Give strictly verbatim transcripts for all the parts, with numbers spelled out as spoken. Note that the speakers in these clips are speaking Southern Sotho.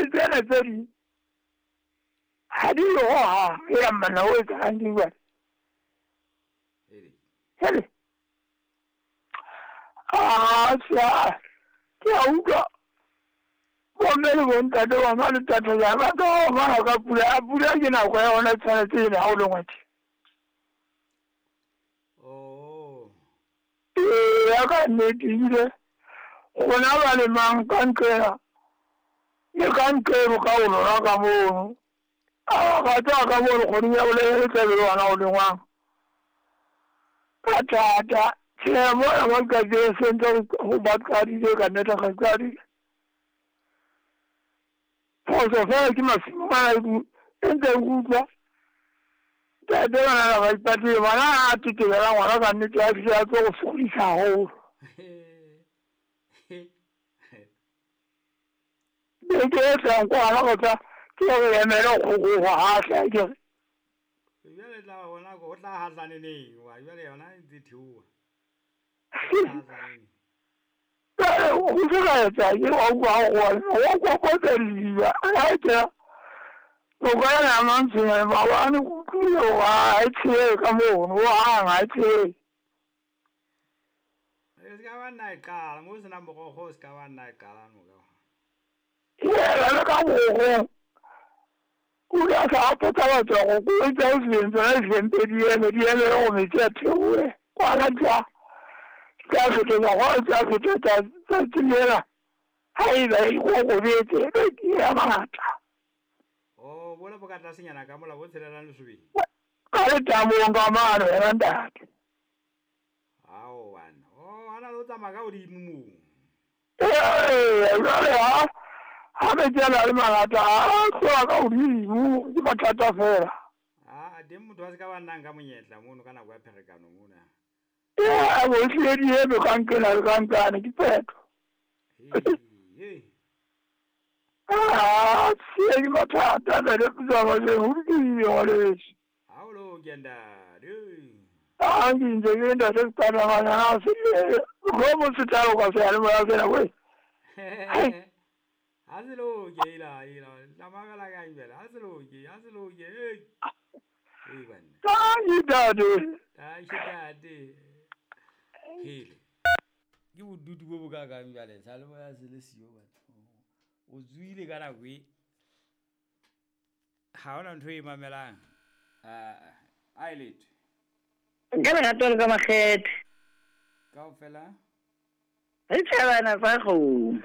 Le tsena tse ding ha di yo ha ya mana o etsalang ke jwale. Hele. Ah, tsa ke a utlwa bomme le bontate ba ma le tate ya ba ka ba ka pula a pula ke nako ya hona tshwanetse ene ha o le ngwetsi. Oh. Ee, ya ka nnete ebile rona ba lemang ka nqena le ka nqeno ka o lona ka mono. A ga tswa ka mono kgoding ya bolele tla be le wena o lengwang. Ka thata tjhe mona mo qadile sentse ho ba qadile ka nnete ga qadile. Phoso fela ke masimo ana e ntse utlwa. Ntate bana ba ipatile bana a tetebela ngwana ka nnete a fihle a tlo go sokodisa haholo. Beke e tlang kwana go tla ke re emele go go hahla ke re. Jwale tla bona go tla hahlane neng wa jwale yona e ntse theoha. Go se ka etsa ke wa utlwa go wa kokotsa didiba a ke o ka ya mantsheng maobane go utlwile hore ha e tshele ka mono ho hang ha e tshele. E se ka ba nna e qala mo se nang morogo o se ka ba nna e qala no ka. Ee, le ka morogo o ile a sa potsa batho go ko etsa o se tsona di eme di eme di eme go metsi a theohe kwana tsa tsa fetola go tsa fetola tsatsi lela ha eba e kokobetse e ya mangata. Oh, bona bo ka tlasenyana ka mola bo tshelelang lesobeng. Ka letamong ka mano wena ntate. Ao bana. Oh, ana le o tsamaya ka hodimo moo. Ee, jwale ha ha metsi a na le mangata a tloha ka hodimo ke mathata fela. Ah, teng motho a se ka ba nnang ka monyetla mono ka nako ya pherekano mona. Ee, bo hlile di eme ka nqena le ka nqane ke phetho. Hei. Ah, tjhe ke mathata ntate Putsa le ho lokile ngwaneso. Ha o loke ntate. Ah, ke ntse ke ntate Putsa se go mo se tla go seyalemoya sena we. Ha se loke ila ila la mamela ka jwale ha se loke ha se loke hey. Hey bana. Tanki ntate. Tanki ntate. Hele. Ke bodutu bo bo kakang jwale seyalemoya se le siyo batho. O tswile ka nako e ha hona ntho e mamelang. Ah, a e letho. Nka lerato le ka makgethe. Kaofela? Re tjhabana fa kgomo.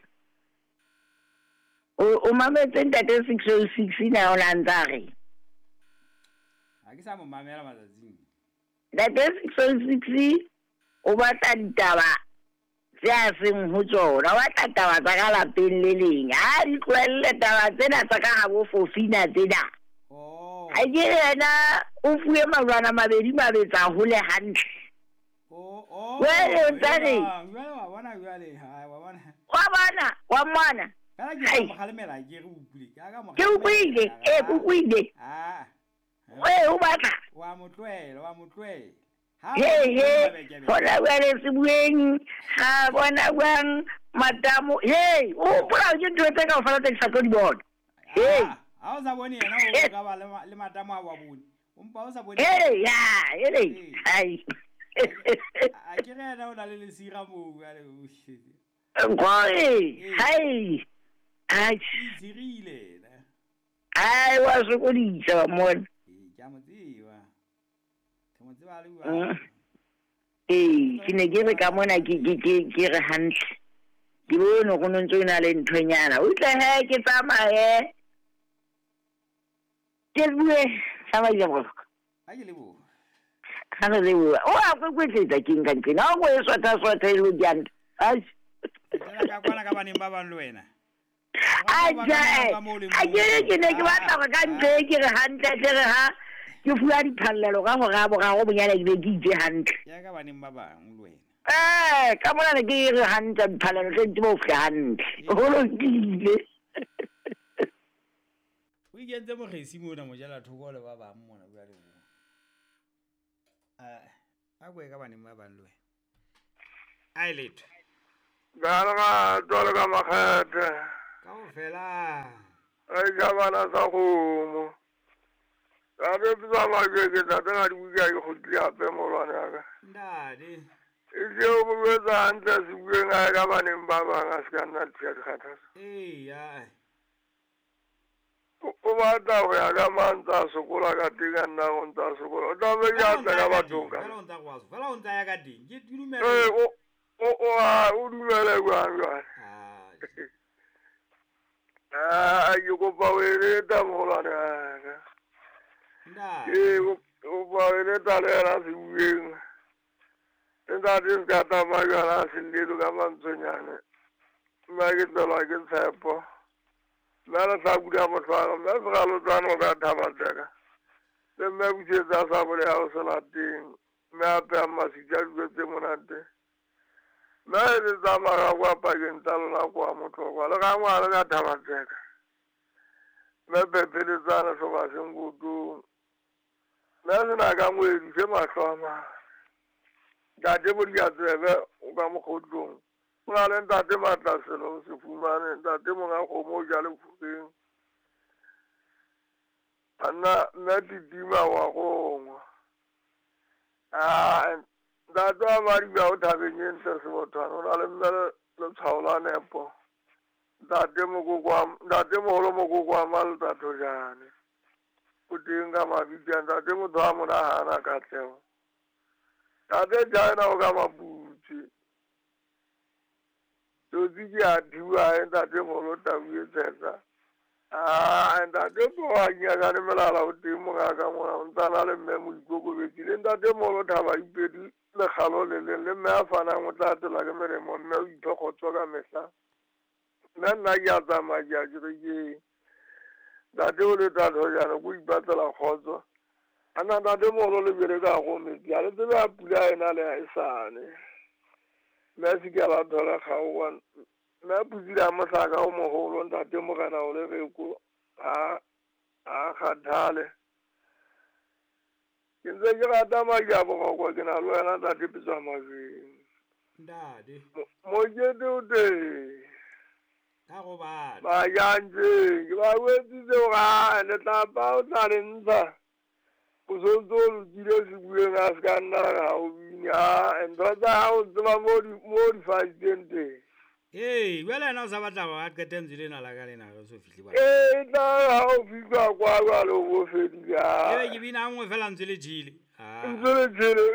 O o mametse ntate six oh six na o la ntsa re. Ha ke sa mo mamela matsatsing. Ntate six oh six o batla ditaba tse a seng ho tsona, o batla taba tsa ka lapeng le leng. Ha di tlohelle taba tsena tsa ka habo fofina tsena. Oh. Ha ke re yena o fuwe malwana mabedi mabetsa hole hantle. Oh, oh. Jwale o ntsa reng? Jwale wa bona jwale, ha wa bona. Wa bona, wa mmona. Kana ke mo kgalemela ke re utlwile. Ke ka mo. Ke utlwile, ee ke utlwile. Ah. Ee, o batla. Wa mo tlohela, wa mo tlohela. Ha He he, hona jwale se bueng, ha bona jwang matamo. He, o hopola ke ntho tse kaofela tse ke sa tlo di bona. He. Ha o sa bone yena o ka ba le matamo a wa bone. O mpa o sa bone. Ee, ya, ele. Hai. A ke re yena o na le lesira moo jwale o shit. Nkgoe, hai. Ai. Itshirile yena. Ai, wa sokodisa wa mmona. Ee, ke a mo tseba. Ke mo tseba le bua. Ee, ke ne ke re ka mona ke ke ke ke re hantle. Ke bone go no ntse o na le nthonyana. O tle he ke tsamaye. Ke bue tsamaye go. Ha ke leboha. Ha re leboha. O a kwekweetsa ke nka nqena. Ha o e swata swata e lo janta. Ai. Tsela ka kwana ka baneng ba bang le wena. Aja, a ke re ke ne ke batla go ka ntlo e ke re hantle tle re ha ke fuwa diphallelo ka hora ya boraro bonyane ke be ke itse hantle. Ya ka baneng ba bang le wena. Eh, ka mona ne ke re hantle diphallelo tse ntse bo fihla hantle. Ho lokile. O ikentse mokgesi mona mojela thoko le ba bang mona bua le bo. Eh, a bue ka baneng ba bang le wena. A e letho. Ga lerato le ka makgethe. Kaofela. Re ja bana sa kgomo. Ntate Pitsa Majweng ke ntate ga di buka ke kgutlile hape moholwane wa ka. Ntate. E se o mo jwetsa hantle a se bueng a ye ka baneng ba bang a se ka nna thuya dikgathatso. Eya. O batla ho ya ka mang ntse a sokola ka teng a nna o ntse a sokola. O tlamehile a tle ka bathong ka. Fela o ntsa kwa fela o ntsa ya ka teng. Ke dumela. Ee, o o o a o dumele jwang jwale. Ah, ke kopa o eleta moholwane wa ka. Ntate. Ke kopa o eleta le yena se bueng. Ntate se ka tsamaya jwale a se llelo ka mantswenyane. Mme ke tlelwa ke tshepo. Mme le tla bula mohlwaro, mme segalotswane o ka thaba tseka. Le mme busetsa sa bole ya ho se lateng. Mme a peha masitja dijo tse monate. Mme le tsamaya kwa pakeng tsa lona kwa motlokwa. Le ka ngwana ka thaba tseka. Mme phepheletsane hloba sengotong. Mme sena ka ngwedi se mahlo a mane. Ntate Bodiatsebe o ka mokgotlong. O na le ntate Matlaselo o se fumane, ntate monga kgomo o ja lefureng. Banna mme Titima wa gongwa. Ah, ntate wa Madiba o thabeng e ntle Sebothwane, o na le mme letshwao la nepo. Ntate mokoko wa ntate moholo mokoko wa Maltathojane. O teng ka mabitla, ntate motho a mo nahana katleho. Ntate China o ka Maputse. Tsotsi ke a thiba ntate moholo tau e tshehla. Ah, ntate Poa nyakane melala o teng mongaka mona o ntsa na le mme Moikokobetsi le ntate moholo Thaba Ipedi lekgalo le leng le mme a fanang o tla atelwa ke melemo mme o iphe kgotso ka mehla. Mme nna ke a tsamaya ke ya kerekeng. Ntate o le Tathojane ko ipatlela kgotso. Ana ntate moholo le bele ka go metsi a le tsebe a pula ena le ha e sane. Mme a se ke a la thola kgaoha. Mme a putsile a mohlaka o moholo ntate morena o le reko a a kgathale. Ke ntse ke rata madi a boroko ke na le wena ntate Pitsa Majweng. Ntate. Mokete o teng. Ka gobane. Ba jantse ke ba wetsitse hore a letlapa o tla le ntsha. O sontso o lokile se bueng a se ka nna ga o bine. Ah, ntho tsa hao tseba mo di mo di faditseng teng. Ee, jwale yena o sa batla hore a qete ntse lena la ka lena re so fihle kwa. Ee, tla ha o fihla kwa jwale o bo fedile. Ebe ke bina nngwe fela ntse le jele. Ah. Ntse le jele.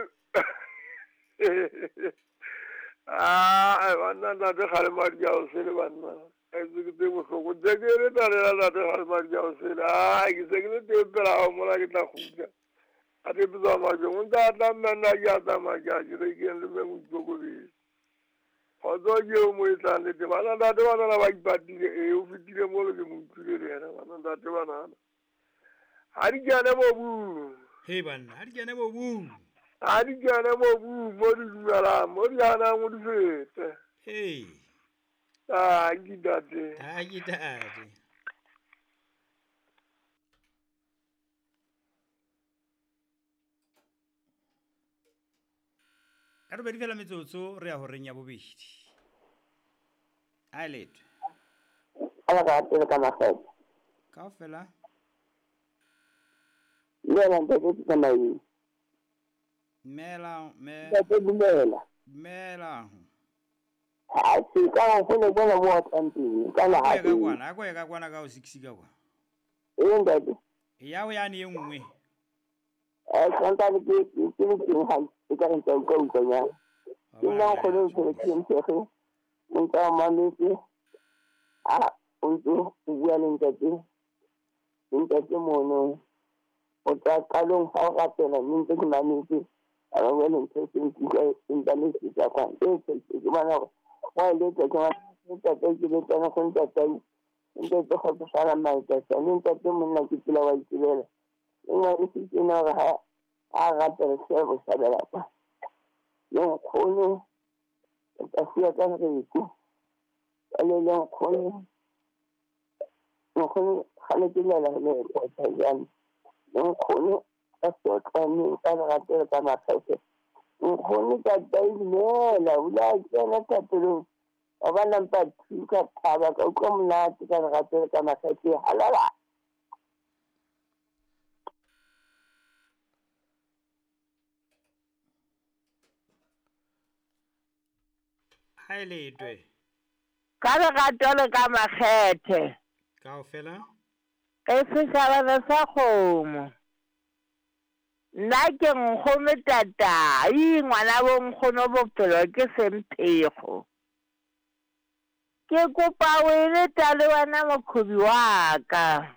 Ah, banna ntate kgalema di a o sele banna. E ke tse bohloko. Ntse ke le talela ntate kgalema di a o sele. Ah, ke se ke le teng pela hao mola ke tla kgutla. A te Pitsa Majweng o ntse a tla mme nna ke a tsamaya ke ya kerekeng le mme Moikokobetsi. Kgotso ke eo mo e tlang le teng. Bana ntate banana ba ipatile. Ee, o fetile molo ke mo utlwile le yena. Bana ntate banana. Ha di kene mobung. He banna, ha di kene mobung. Ha di kene mobung mo di dumelang, mo di hanang o di fete. Hey. Ah, ke ntate. Ah, ke ntate. Ka robedi fela metsotso re ya horeng ya bobedi. A letho. Ala ka pele ka makgetho. Kaofela. Le yena ntate Pitsa Majweng. Dumela mme. Ntate dumela. Dumela. Ha se ka go le bona mo tlang teng ka la ha. Ka kwana, a ko ya ka kwana ka o six ka kwa. Ee ntate. Ya o yane e nngwe. Eh santa ke ke ke ke ha e ka re ntse o ka utlwa ya. Ke nna go le go ke ntse go. Nka mametse. A o ntse o bua le ntate. Ntate mono. O tla qalong ha o rapela mme ntse ke mametse. A ba bua le ntho tse nkutlwa empa le se tsa kwa. E ke ke bona hore wa le tsa ka ntate ke le tsana go ntate. Ntate go tsala matsatsi mme ntate monna ke tsela wa itsebela. Nna ke se tsena hore ha a rapela se go sabela kwa. Le nkgono ka fuwa ka reko. Ka le le nkgono. Nkgono ga le ke lela le go tsa jang. Le nkgono ka sotlane ka rapela ka makgethe. Nkgono ka taimela o la tsena thapelong. Wa ba number two ka thaba ka utlwa monate ka lerato le ka makgethe halala. Ha e letwe. Ka lerato le ka makgethe. Kaofela? Ke setjhaba sa kgomo. Nna ke nkgono tatai, ngwana bo nkgono bophelo ke semphego. Ke kopa o e leta le wena mokhobi wa ka.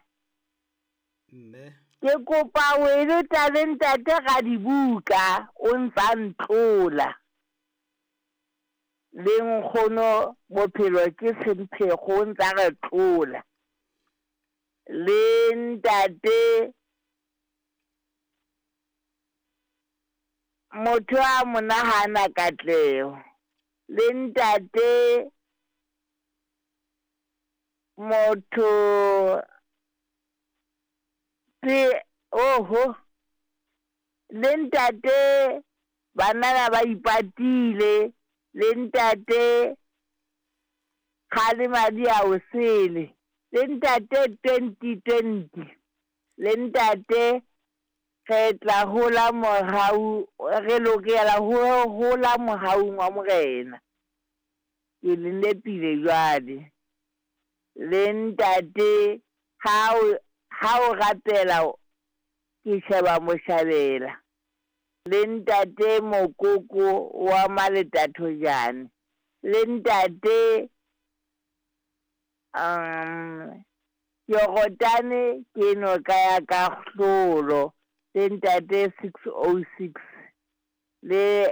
Mme. Ke kopa o e leta le ntate ga dibuka o ntsa ntlola. Le nkgono bophelo ke semphego o ntsa re tlola. Le ntate motho a mo nahana katleho. Le ntate motho pe oho le ntate banana ba ipatile le ntate kgale madi a o sele le ntate twenty twenty le ntate re tla hola mohau re lokela ho hola mohaung wa morena. Ke le nepile jwale. Le ntate ha o ha o rapela ke sheba moshabela. Le ntate mokoko wa maletathojane. Le ntate um Yorotane ke noka ya kahlolo. Le ntate six oh six le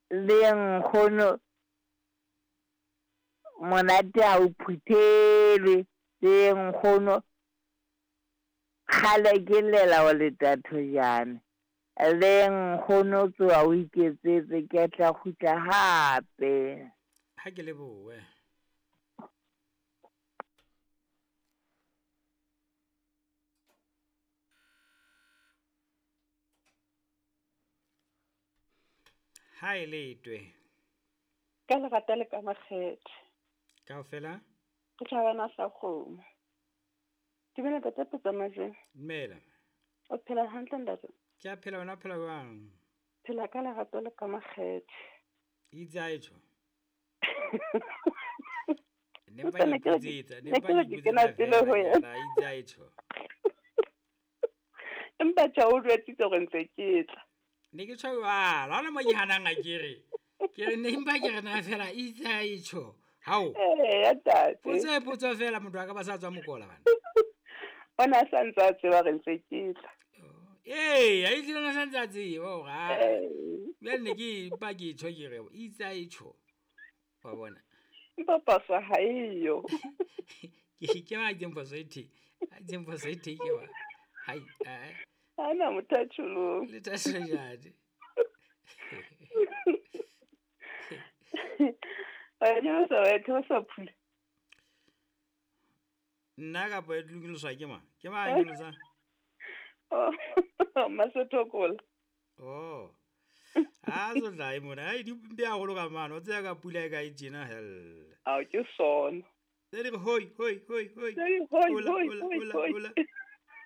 le nkgono monate ha o phuthelwe le nkgono kgale ke llela wa letathojane le nkgono tsoa o iketsetse ke tla kgutla hape. Ha ke lebohe. Ha e letwe. Ka lerato le ka makgethe. Kaofela? Ke tjhabana sa kgomo. Dumela ntate Potsamajwe. Dumela. O phela hantle ntate? Ke a phela, wena o phela jwang? Phela ka lerato le ka makgethe. Itse a e tjho. Ne mpa ke ipotsetsa, ne mpa ke ipotsetsa fela, itse a e tjho. Empa tjha o jwetsitse hore ntse ke tla. Ne ke tjho jwalo, ha hona mo ke hanang a ke re. Ke re ne mpa ke re na fela itse a e tjho. Hao. Eh, ya tate. Potso e potso fela motho a ka ba sa tswa mokola bana. Ona a sa ntse a tseba re ntse ke tla. Ee, a itlile na sa ntse a tseba hore ha. Jwale ne ke mpa ke tjho ke re itse a e tjho. Wa bona. Empa phoso ha eyo. Ke ke ba itseng phoso e the. A itseng phoso e the ke wa. Hai, eh. Ana motho a tjholong. Le tashojane. Wa nyolosa wa theosa phula. Nna kapa e tlokiloswa ke mang? Ke mang a nyolosang? Oh, Masethokola. Oh. Ha so tla e mona. Ai di mpe haholo ka mano. O tseba ka pula e ka e tjena hell. Ao ke sona. Tse di re hoi hoi hoi hoi. Tse di hoi Hola hoi hola hoi hola hoi. hola.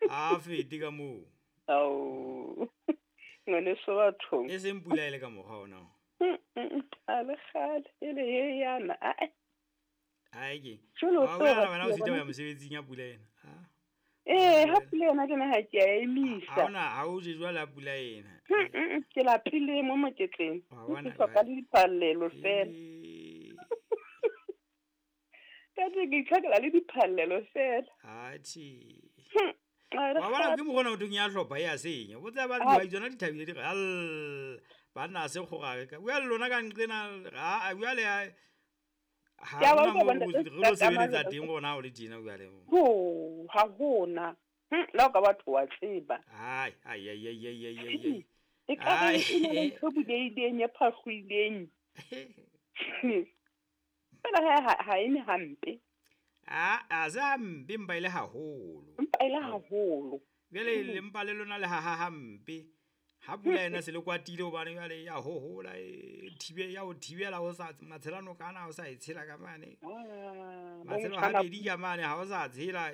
A fete ka moo. Ao. Ngwaneso bathong. E seng pula e le ka mokgwa ona. A le kgale e le ye yana. Ae. Ai ke. Jwale o Wa tlo bona ba wena o tseba sitwa ho ya bona. mosebetsing ya pula ena. Ha. Eh, ha Pula ena. pula yona ke na ha ke a Ha emisa. hona ha o je jwale ha pula ena. Mm, mm, mm, ke lapile mo moketleng. Wa Ke bona hloka jwale. le diphallelo fela. Ee. Ka teng ke itlhokela le diphallelo fela. Atjhe. Hmm, a le Wa bona kgale. ke mokgona ho thweng ya hlopha e a senya. O tseba Ah, dihwai tsona di thabile di re al banna ha se kgorare ka. Bua le lona ka nqena ha jwale ha Ke a ha ba hona utlwa moo bona re ntate lo se ka sebeletsa malota. teng rona ha o le tjena jwale. Ho, ha hona. Hmm, le ha o ka batho wa tseba. Ai ai ai ai ai ai ai ai. E ka re Ai. e na le ntho e bulehileng e phahlohileng. Fela he ha ha e ne hampe. A a se hampe empa e le haholo. Empa e le Ao. haholo. Jwale Mm. le mpa le lona le haha hampe. Ha pula ena se le kwatile hobane jwale ya hohola e thibe ya o thibela ho sa matshela nokana ha o sa e tshela ka mane. Ah, Matshelo bo habedi ka mane ha o sa tshela.